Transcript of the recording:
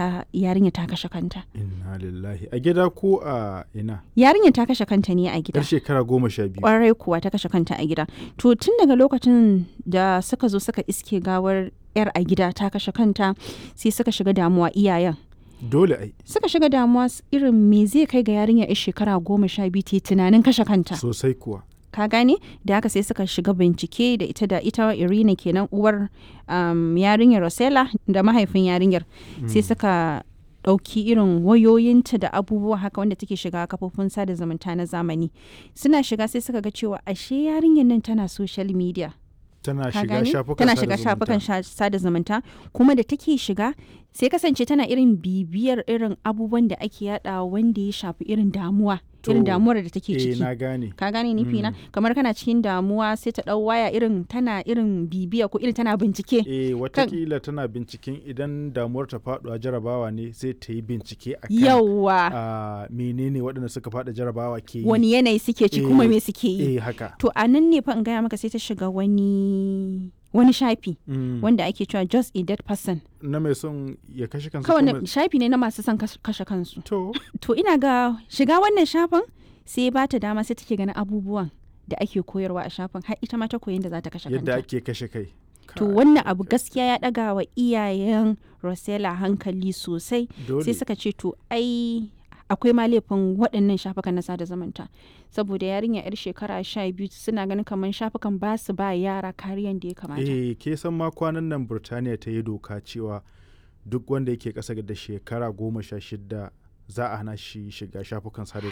ta yarinya ta kashe kanta. Inna lillahi. A gida ko a ina? Yarinya ta kashe kanta ne a gida. Yar shekara 12. Kwarai kuwa, ta kashe kanta a gida. To tun daga lokacin da suka zo suka iske gawar yar a gida ta kashe kanta, sai suka shiga damuwa iyayen. Dole ai. Suka shiga damuwa irin me zai kai ga yarinya yar shekara 12 ta yi tunanin kashe kanta. Sosai kuwa. Ka gane? Da haka sai suka shiga bincike da ita Irina kenan, uwar yarinyar Rosella da mahaifin yarinyar. Sai suka ɗauki irin wayoyinta da abubuwa haka wanda take shiga kafofin sada zumunta na zamani. Suna shiga sai suka ga cewa ashe yarinyar nan tana social media. Tana Ka shiga gane? shafukan Tana sada shiga zumunta. shafukan sada zumunta, kuma da take shiga sai kasance tana irin bibiyar irin abubuwan da ake yada wanda ya shafi irin damuwa, irin To, damuwar da take eh, ciki. na gane. Ka gane nufi na? Kamar kana cikin damuwa sai ta dau waya, irin tana irin bibiya ko irin tana bincike. Eh, watakila tana binciken idan damuwar ta faɗuwa jarabawa ne, sai ta yi bincike akan Yawwa. a menene waɗanda suka faɗi jarabawa ke yi. Wani yanayi suke ci kuma Eh, me suke yi. Eh, haka. To a nan ne fa in gaya maka sai ta shiga wani shafi wanda ake cewa "Just a Dead Person". Na mai son ya kashe kansa Kawai ko mai- shafi ne na masu son kashe kansu. To. To ina ga shiga wannan shafin sai ba ta dama, sai take ganin abubuwan da ake koyarwa a shafin, har ita ma ta koyi yadda za ta kashe Yadda kanta. ake kashe kai. To Kai, wannan abu gaskiya ya ɗaga wa iyayen Rosella hankali sosai. Dole. Sai suka ce to ai akwai ma laifin waɗannan shafukan na sada zumunta, saboda yarinya yar shekara 12, suna ganin kamar shafukan ba su ba yara kariyan da ya kamata. Eh, ke san ma kwanan nan Burtaniya ta yi doka cewa duk wanda yake ƙasa da shekara 16 za a hana shi shiga shafukan sada